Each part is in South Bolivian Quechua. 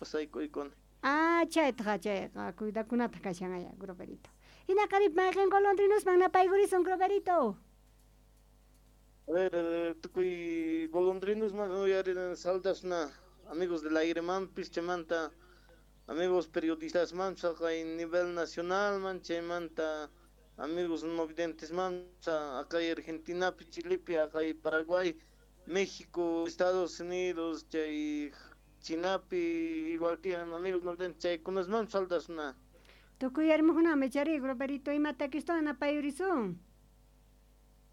Pasaykuykkuna. Ah, chaytaqa chayqa cuidakunata kashan aya, Groverito. Hinaqa rip mayqin golondrinosman napaykurisun, Groverito. A ver, tukuy golondrinosman uyarin saldasna amigos del aire-manpis chaymanta amigos periodistasman chaqay nivel nacionalman chaymanta amigos no videntesman acá Argentinapi, Chilepi, acá Paraguay, México, Estados Unidos, chay Chinapi, igual que amigos no videntes chaykunasman saldasna. Tukuy yarmuqkunami chari, Groverito, imata takistawan napayurisun.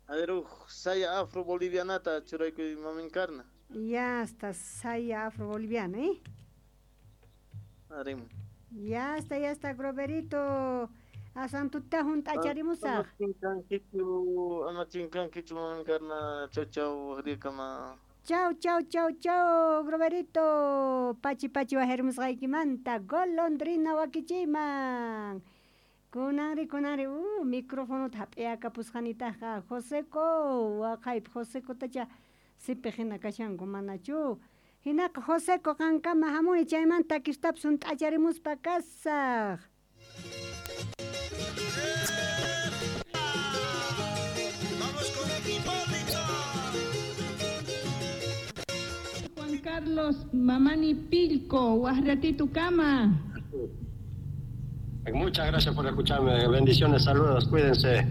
A ver, saya afro-bolivianata churaykuy maminkarna. Ya está, saya afro-boliviana, ¿eh? Arim. Ya está, Groverito. Asantuta hunt'acharimusaq. Ama chinkankichu maminkarna, chau chau, rikama. Chau, chau, chau, chau, Groverito. Pachi pachi wajermusqaykimanta golondrina wakichiyman. Kunanri, kunanri, microfonota hap'iyakapusqanitaqa Joseco, waqaypi Josecotacha sipiq hina kashanku manachu. Hinaqa Joseco qankama hamuni chaymanta takistapis hunt'acharimuspa kasaq. Vamos con Hipólito. Juan Carlos Mamani Pilco, Guasratito Kama. Muchas gracias por escucharme. Bendiciones, saludos, cuídense.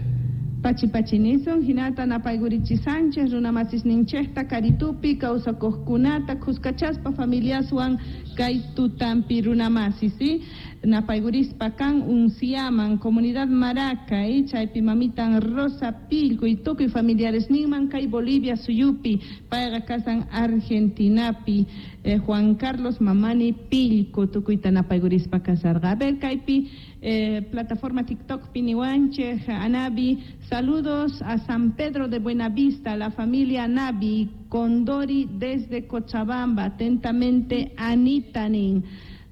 Pachi pachinison, hinata napaygurichi Sánchez, runamasis ninchejta, Karitupi, kawsakuqkunata, Cuscachaspa, familiaswan, kay tutampi runamasis, ¿sí? Napaygurispa kan unciaman, comunidad Maraca, ¿eh? Chaypi mamitan Rosa Pilco y tukuy familiares ninman, kay Bolivia suyupi, payqa kasan Argentinapi, Juan Carlos Mamani Pilco, tukuyta napaygurispa kasarqa. A ver, kaypi, plataforma TikTok Pinihuanche, Anabi, saludos a San Pedro de Buenavista, la familia Nabi, Condori desde Cochabamba, atentamente Anitanin.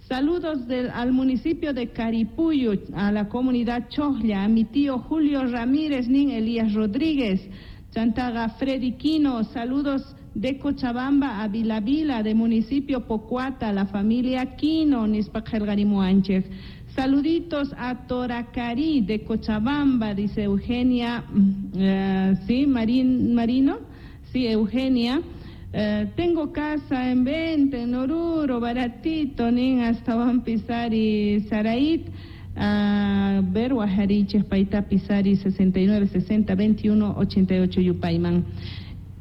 Saludos al municipio de Caripuyo, a la comunidad Chojla, a mi tío Julio Ramírez, nin Elías Rodríguez, Chantaga Freddy Quino, saludos de Cochabamba a Vilavila, de municipio Pocuata, la familia Quino, Nispakhelgarimuanchej. Saluditos a Toracarí de Cochabamba, dice Eugenia, sí, Marino, sí, Eugenia. Tengo casa en venta en Oruro, baratito, nin hasta Juan Pizari, Saraít, a ver, Guajariches, Paita Pizari, 69, 60, 21, 88, Yupayman.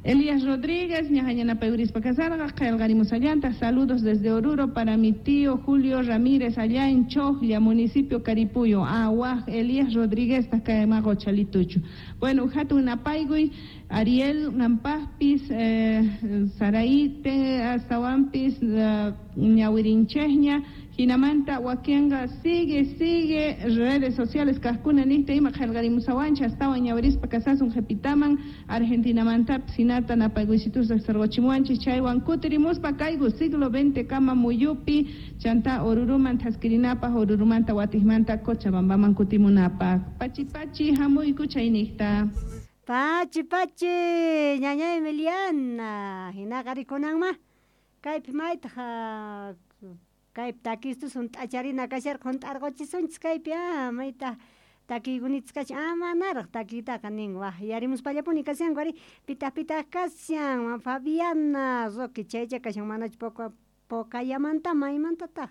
Elías Rodríguez, ñajañana Peurispa Casarga, Calgarimus Allanta, saludos desde Oruro para mi tío Julio Ramírez, allá en Chojlla, municipio Caripuyo, Aguaj, Elías Rodríguez, Tacaemago, Chalitucho. Bueno, Jatu Napaigui, Ariel Nampajpis, Saraí, Azahuampis, Ñahuirinchejña, Jinamanta, Huaquenga, sigue, redes sociales, Cascuna, Niste, Ima, Jalgarimusahuancha, Astawan, Ñahuirispa, Casasun, Jepitaman, Argentina, Mantap, Sinata, Napaiguisitus, Sargochimuanchi, Chaywan, Kutirimuspa, Caigu, siglo XX, Kama, Muyupi, Chanta, Oruruman, Tasquirinapa, Orurumanta, Huatismanta, Cochabambaman, Kutimunapa, Pachi, Pachi, Jamuy, Kuchaynista. Pachi, Pachi, ñaña Emiliana, hinaqarikunanma, kaypi maytaq, kaypi takistus hunt'acharina kasharqa hunt'arquchisunchis kaypi, mayta takiykunitz kashan, manaraq takiytaqa nin, waj yarimuspallapuni kashanku ari, pitaq pitaq kashan, Fabiana Roque chaycha kashan, manachu Pocayamanta, maymantataq,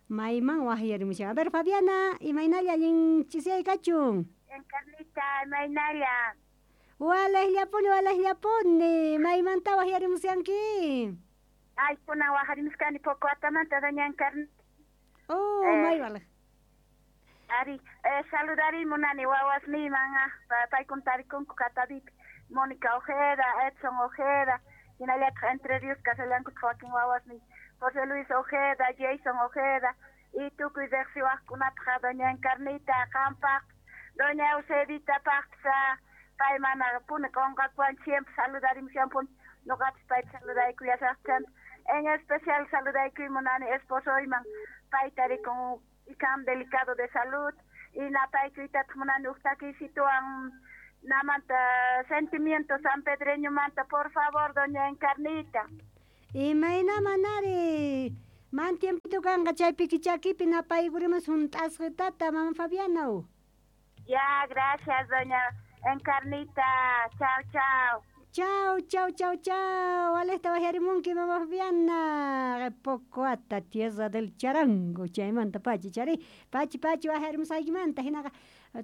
mayman waj yarimushan. A ver, Fabiana, imaynalla allin chisiyay kachun. Encarnita, imaynalla. Walejllapuni, walejllapuni, maymanta waj yarimushanki. Ay, kunan wajarimuskani Pocoatamanta, doña Encarnita. Oh, may walej. Ari, saludari munani wawasniyman, paykuntarikunku Catavipi, Mónica Ojeda, Edson Ojeda, hinallataq Entre Ríos kasallankutaj wakin wawasniy, José Luis Ojeda, Jason Ojeda, y tukuy riqsiwaqkunapaq doña Encarnita, qampaq, doña Eusebitapaqpis, pay mana puni qunqakuwan siempre saludarimushanpuni, noqapis payta saludaykullasaqchanta. En especial saludaykuy munani esposoyman, payta rikun ikam delicado de salud, y napaykuytataq munani uj takisituwan namanta sentimiento sanpedreño manta, por favor, doña Encarnita. Imayna manari Man tiempito kanqa chaypiki chakipi napaykurimus hunt'asqitata mama Fabiana. Ya, gracias, doña Encarnita. Chao, chao. Chao, chao, chao, chao. Alesta wajarimunki mama Fabiana. Pocoata, tierra del charango. Chaymanta pachi chari. Pachi, pachi wajarimusaykimanta. Hinaqa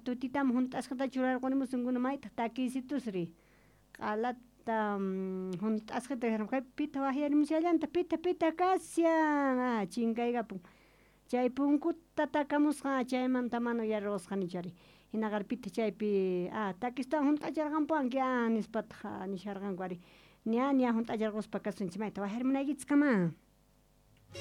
tutitam hunt'asqata churarqunimusunkuna maytaq takiysitusri. Q'alata hunt'asqata pita wajarimushallanta pita pita kashan. Ah, chinkaykapun. Chay punkuta takamusqa chaymanta mana uyarusqani chari. Hinaqa pita chaypi takistawan hunt'acharqanpuwanki nispataq nisharqanku ari ña ña hunt'acharquspa kasunchik mayta wajarimunaykichis kama.